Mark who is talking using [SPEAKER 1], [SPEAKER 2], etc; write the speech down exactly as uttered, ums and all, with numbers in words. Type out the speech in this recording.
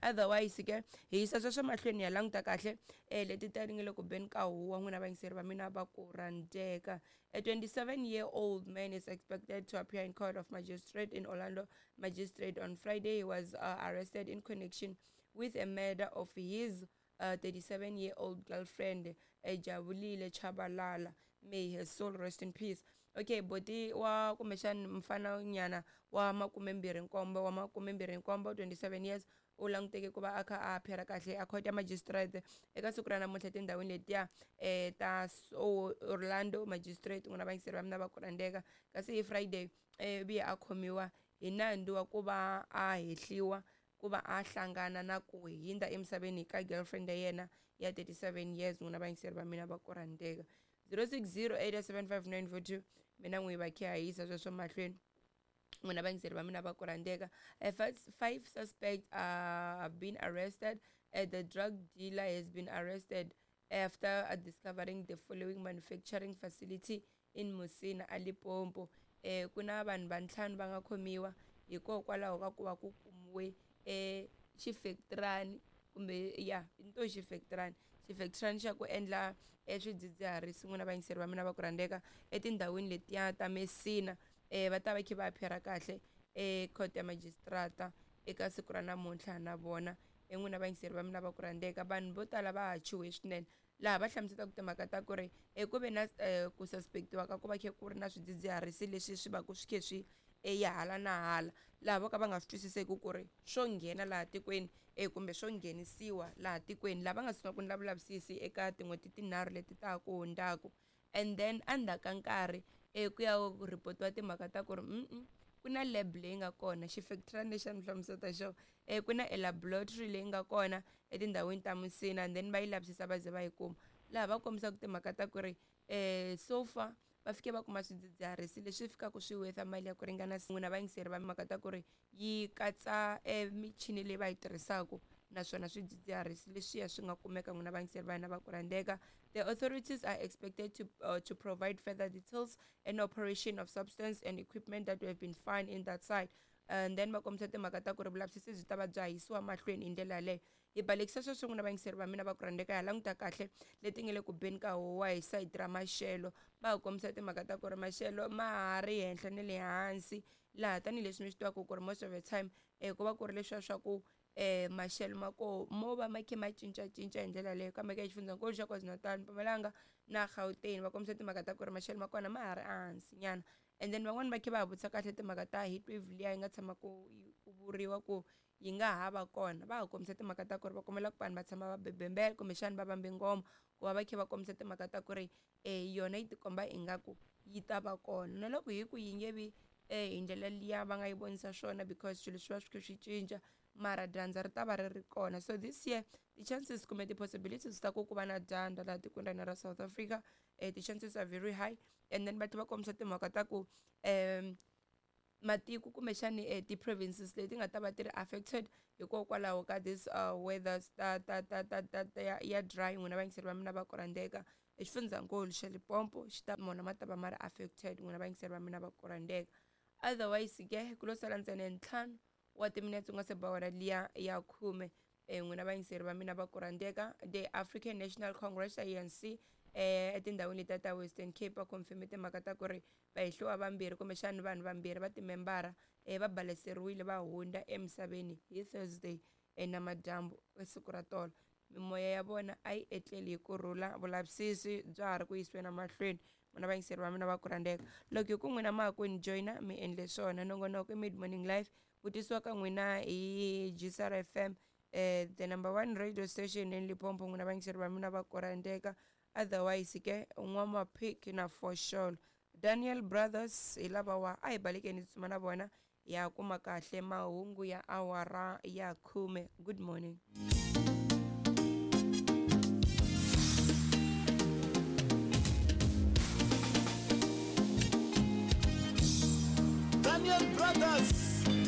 [SPEAKER 1] Otherwise ke hi yisa sweswo mahlweni ya languta kahle um leti ta ri nge le ku beni ka huwa n'wina vayingiseri va mina va ku rhandzeka. A twenty-seven year old man is expected to appear in court of magistrate in Orlando Magistrate on Friday. He was uh, arrested in connection with a murder of his uh, thirty-seven year old girlfriend, Jabulile Chabalala. May her soul rest in peace. Okay, boti wa kumbexani mfana nyana wa makumembirhi nkombo wa makumembirhi nkombo twenty-seven years u languteke ku va a kha a phera kahle a court ya magistrate eka siku ra namuntlha tindhawini letiya um ta so Orlando Magistrate n'wina vayingiseri va mina va ku rhandzeka. Kasi hi Friday um vuye a khomiwa hi nandzu wa ku va a hehliwa ku va a hlangana na ku hindza emisaveni ka girlfriend ya yena ya thirty-seven years n'wina vayingiseri va mina va ku rhandzeka. zero six zero eight seven five nine four two mina n'wi va khe a yisa sweswo mahlweni n'wina vayingiseri va mina va ku rhandzeka. Five suspects uh, have been arrested. Uh, the drug dealer has been arrested after uh, discovering the following manufacturing facility in Musina a Limpopo. Eh, ku na vanhu va ntlhanu va nga khomiwa hikokwalaho ka ku va ku kumiwe eh xifektrani kumbe ya into xifektrani xifektrani xa ku endla swidzidziharisi n'wina vayingiseri va mina va ku rhandzeka etindhawini letiya ta Messina. Eh va ta va kha va phera kahle e court ya magistrata eka siku ra namuntlha na vona n'wina vayingiseri va mina va ku rhandzeka. Vanhu vo tala va ha chuhe swinene laha va hlamuselaka timhaka ta ku ri ku ve na ku suspectiwa ka ku va kha ku ri na swidzidziharisi leswi swi va ku swi khe swi ya hala na hala laha vo ka va nga swi twisiseki ku ri swo nghena laha tikweni e kumbe swo nghenisiwa laha tikweni laha va nga sungula ku endla vulavisisi eka tin'hweti tinharhu leti ta ku hundzaka. And then endzhaku ka nkarhi e ku ya ku ripotiwa timhaka ta ku ri mm ku na lab leyi nga kona xifektrani lexi a ni hlamusela xona e ku na laboratory leyi nga kona etindhawini ta Musina and then va yi lavisisa va ze va yi kuma laha va kombisaka timhaka ta ku ri um so far va fike va kuma swidzidziharisi leswi fikaka swi worth mali ya ku ringana n'wina vayingiseri va mhaka ta ku ri yi katsa e michini leyi va yi tirhisaka naswona swidzidziharisi leswiya swi nga kumeka n'wina vayingiseri va hina va ku rhandzeka. The authorities are expected to uh, to provide further details and operation of substance and equipment that have been found in that site. And then va kombisa timhaka ta ku ri vulavisisi byi ta va bya yisiwa mahlweni hi ndlela yaleyo. Hi balekisa sweswo n'wina vayingiseri va mina va ku rhandzeka. Ya languta kahle leti nge le ku beni ka huwa hi sayiti ra maxelo va hi kombisa timhaka ta ku ri maxelo ma ha ri henhla na le hansi laha tanihileswi mi swi tivaka ku ri most of the time um ku va ku ri leswiya swa ku eh maxelo ma ko mo va ma khe ma cincacinca hi ndlela leyo kambe ka xifundzankulu xa KwaZulu-Natal, Mpumalanga na Gauteng va kombisa timhaka ta ku ri maxelo ma kona ma ha ri ehansi nyana. And then van'wani va khe va ha vutisa kahle timhaka ta heat wave liya yi nga tshama ku ku vuriwa ku yi nga ha va kona va ha kombisa timhaka ta ku ri va kombela ku vanhu va tshama va bebembela kumbexana va vambe ngoma ku va va khe va kombisa timhaka ta ku ri um yona yi tikomba ingaku yi ta va kona na loko hi ku yi nge vi eh hi ndlela liya va nga yi vonisa swona because swilo swi va swi kha swi cinca mara dyandza ri ta va ri ri kona. So this year the chances kumbe ti-possibilities ta ku ku va na dyandza laha tikweni ra hina ra South Africa eh, the chances are very high. And then va tlhela va kombisa timhaka ta ku um matiko kumbexani eh, ti-provinces leti nga ta va ti ri affected hikokwalaho ka this uh, weather ta ta ta ta ta ta ya, ya dry n'wina vayingiseri va mina va ku rhandzeka. Exifundzankulu xa Limpopo xi ta mona ma ta va ma ri affected n'wina vayingiseri va mina va ku rhandzeka. Otherwise ke ku lo sala ntsena ntlhanu wa timinetse ku nga se ba wona liya ya khume n'wina vayingiseri va mina va ku rhandzeka. The African National Congress A N C eh etindhawini letiya ta Western Cape va confirme timhaka ta ku ri vahehliwa vambirhi kumbexani vanhu vambirhi va timembara eh va baleseriwile va hundza emisaveni hi Thursday namadyambu siku ra tolo. Mimoya ya vona a yi etleli hi kurhula vulavisisi bya ha ri ku yisiweni emahlweni n'wina vayingiseri va mina va ku rhandzeka. Loko hi ku n'wina ma ha ku ni joyina mi endle swona nongonoko i Mid Morning Live ku tisiwa ka n'wina hi G S R F M eh the number one radio station in Limpopo n'wina vayingiseri va mina va ku rhandzeka. Otherwise ke n'wamapic na for sure Daniel Brothers hi lava wa a hi balekeni tsutsuma na vona ya kuma kahle mahungu ya awara ya khume. Good morning.